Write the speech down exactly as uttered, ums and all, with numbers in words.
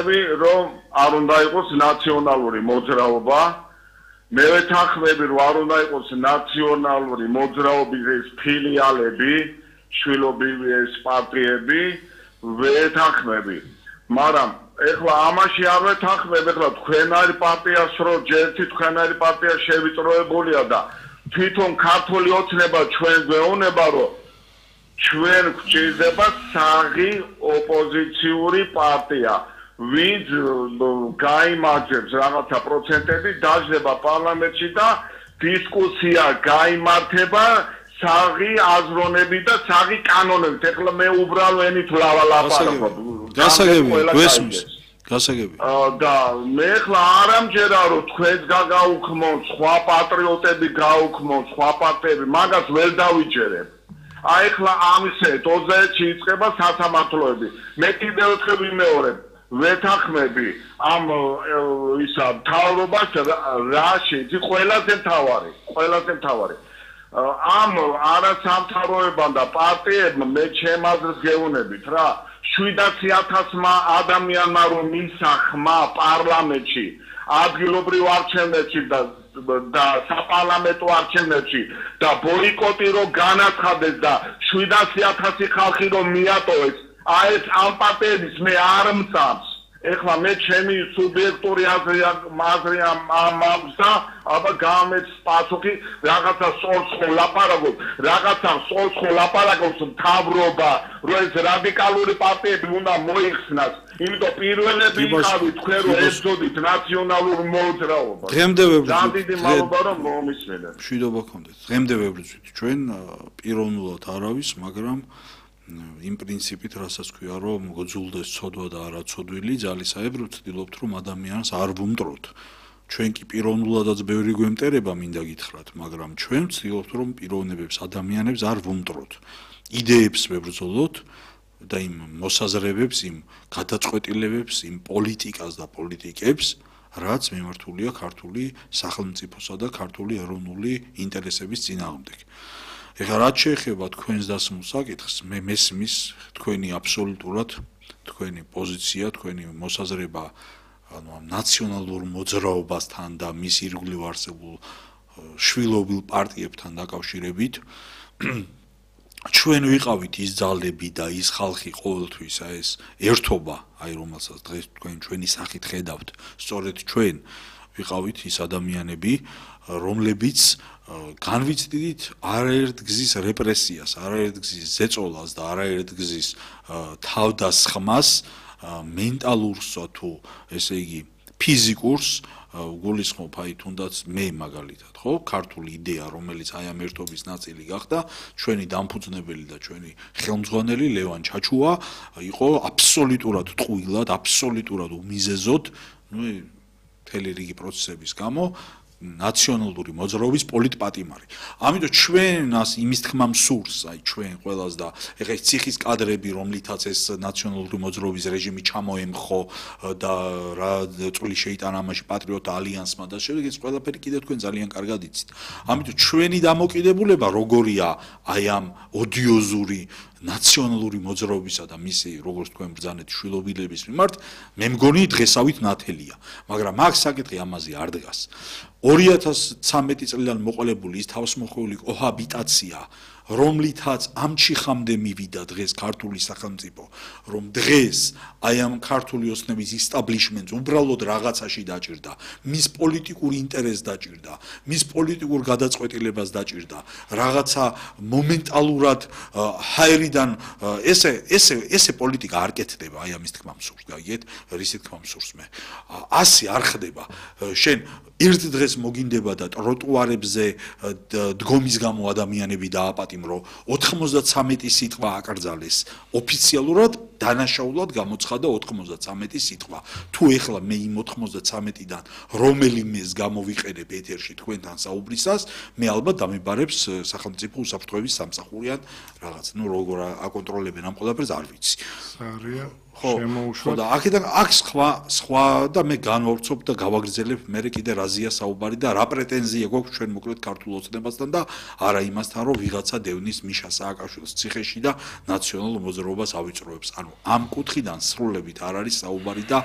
რომ არ უნდა იყოს ნაციონალური მოძრაობა, მე ვეთანხმები რომ არ უნდა იყოს ნაციონალური მოძრაობის ფილიალები, შვილობრივი ეს პარტიები, ვეთანხმები. მაგრამ ეხლა ამაში არ ვეთანხმები, ეხლა თქვენარი პარტიას რო ჯერთი თქვენარი პარტია შევიწროებულია და თვითონ ქართული ოცნება ჩვენ გვეუბნება რომ ჩვენ გვჭირდება საღი ოპოზიციური პარტია. ვინც გაიმარჯვებს რაღაცა პროცენტები დაждდება პარლამენტში და დისკუსია გაიმართება საღი აზროვნები და საღი კანონებით. ეხლა მე უბრალო ენით ვლაპარაკობ. გასაგები, გვესმის. გასაგები. და მე ეხლა არ ამჯერა რომ თქვენს გაგაუქმონ, სხვა პატრიოტები გაუქმონ, სხვა პარტიები, მაგას ვერ დავიჯერებ. აი ეხლა ამისე ოცდაერთში იწყება სასამართლოები. მე კიდევ ერთხელ ვიმეორებ. ვეთანხმები ამ ისა მთავრობას რა შეიძლება ყველაზე მთავარი, ყველაზე მთავარი. ამ არასამთავროებამ და პარტიებმა მე ჩემ აზრს გეუბნებით რა, შვიდათი ათასმა ადამიანმა რომ მისცა ხმა პარლამენტში, ადგილობრივ არჩევნებში და და საპარლამენტო არჩევნებში და ბოიკოტი რომ განაცხადეს და შვიდათი ათასი ხალხი რომ მიატოვეს, აი ეს ამ პარტიების მე არ მწამს. ეხლა მე ჩემი სუბიექტური აზრი აზრი მაქვს და აბა გამეც პასუხი რაღაცა სწორს ხო ლაპარაკობ, რაღაცა სწორს ხო ლაპარაკობს მთავრობა, რომ ეს რადიკალური პარტიები უნდა მოიხსნას. იმიტომ პირველები იყავით თქვენ რომ ებრძოდით ნაციონალურ მოძრაობას. დღემდე ვებრძვით. ძალიან დიდი მადლობა რომ მომისმენთ. მშვიდობა გქონდეთ. დღემდე ვებრძვით. ჩვენ პიროვნულად არავის, მაგრამ იმ პრინციპით, რასაც ქვია, რომ გძულდეს ცოდვა და არა ცოდვილი, ძალისაებრ ვცდილობთ, რომ ადამიანს არ ვუმტროთ. ჩვენ კი პიროვნულადაც ბევრი გვემტერება, მინდა გითხრათ, მაგრამ ჩვენ ვცდილობთ, რომ პიროვნებებს, ადამიანებს არ ვუმტროთ. იდეებს ვებრძოლოთ და იმ მოსაზრებებს, იმ გადაწყვეტილებებს, იმ პოლიტიკას და პოლიტიკებს, რაც მიმართულია ქართული სახელმწიფოსა და ქართული ეროვნული ინტერესების წინააღმდეგ. ეხლა რაც შეეხება თქვენს დასმულ საკითხს, მე მესმის თქვენი აბსოლუტურად თქვენი პოზიცია, თქვენი მოსაზრება ანუ ამ ნაციონალურ მოძრაობასთან და მის ირგვლივ არსებულ შვილობილ პარტიებთან დაკავშირებით ჩვენ ვიყავით ის ძალები და ის ხალხი ყოველთვის აი ეს ერთობა, აი რომელსაც დღეს თქვენ ჩვენი სახით ხედავთ, სწორედ ჩვენ ვიყავით ის ადამიანები, რომლებიც განვიცდით არაერთ გზის რეპრესიას, არაერთ გზის ზეწოლას და არაერთ გზის თავდასხმას, მენტალურსა თუ ესე იგი ფიზიკურს გულისხმობ აი თუნდაც მე მაგალითად, ხო, ქართული იდეა, რომელიც აი ამ ერთობის ნაწილი გახდა, ჩვენი დამფუძნებელი და ჩვენი ხელმძღვანელი ლევან ჩაჩუა იყო აბსოლუტურად ტყუილად, აბსოლუტურად უმიზეზოდ, ნუ მთელი რიგი პროცესების გამო ნაციონალური მოძრაობის პოლიტპატიმარი. ამიტომ ჩვენას იმის თქმა მსურს, აი ჩვენ ყველას და ეხლა ეს ციხის კადრები, რომლითაც ეს ნაციონალური მოძრაობის რეჟიმი ჩამოემხო და რა წვლილი შეიტანა ამაში პატრიოტთა ალიანსმა და შემდეგ ეს ყველაფერი კიდევ თქვენ ძალიან კარგად იცით. ამიტომ ჩვენი დამოკიდებულება როგორია აი ამ ოდიოზური ნაციონალური მოძრაობისა და მისი როგორც თქვენ ბრძანეთ შვილობილების მიმართ, მე მგონი დღესავით ნათელია, მაგრამ აქ საკითხი ამაზე არ დგას. ორი ათას ცხრამეტი წლიდან მოყოლებული ის თავისმოყოლი კოჰაბიტაცია, რომლითაც ამ ჩიხამდე მივიდა დღეს ქართული სახელმწიფო, რომ დღეს აი ამ ქართული ოცნების ისტაბლიშმენტს უბრალოდ რაღაცაში დაჭირდა, მის პოლიტიკურ ინტერესს დაჭირდა, მის პოლიტიკურ გადაწყვეტილებას დაჭირდა, რაღაცა მომენტალურად ჰაერიდან ესე ესე ესე პოლიტიკა არ კეთდება, აი ამის თქმა მსურს, გაიგეთ, რისი თქმა მსურს მე. ასი არ ხდება. შენ ერთ დღეს მოგინდება და ტროტუარებზე დგომის გამო ადამიანები დააპატიმრო, ოთხმოცდაცამეტი სიტყვა აკრძალეს ოფიციალურად, დანაშაულად გამოცხადა ოთხმოცდაცამეტი სიტყვა. თუ ეხლა მე იმ ოთხმოცდაცამეტიდან რომელიმეს გამოვიყენებ ეთერში თქვენთან საუბრისას, მე ალბათ დამიბარებს სახელმწიფო უსაფრთხოების სამსახური ან რაღაც, ნუ როგორ აკონტროლებენ ამ ყველაფერს არ ვიცი. სარია ხო ხო და აქედან აქ სხვა სხვა და მე განვავრცობ და გავაგრძელებ მე კიდე რაზია საუბარი და რა პრეტენზია გვაქვს ჩვენ მოკლედ ქართულ ოცნებასთან და არა იმასთან რომ ვიღაცა დევნის მიშა სააკაშვილის ციხეში და ნაციონალურ მოძრაობას ავიწროებს. ანუ ამ კუთხიდან სრულებით არ არის საუბარი და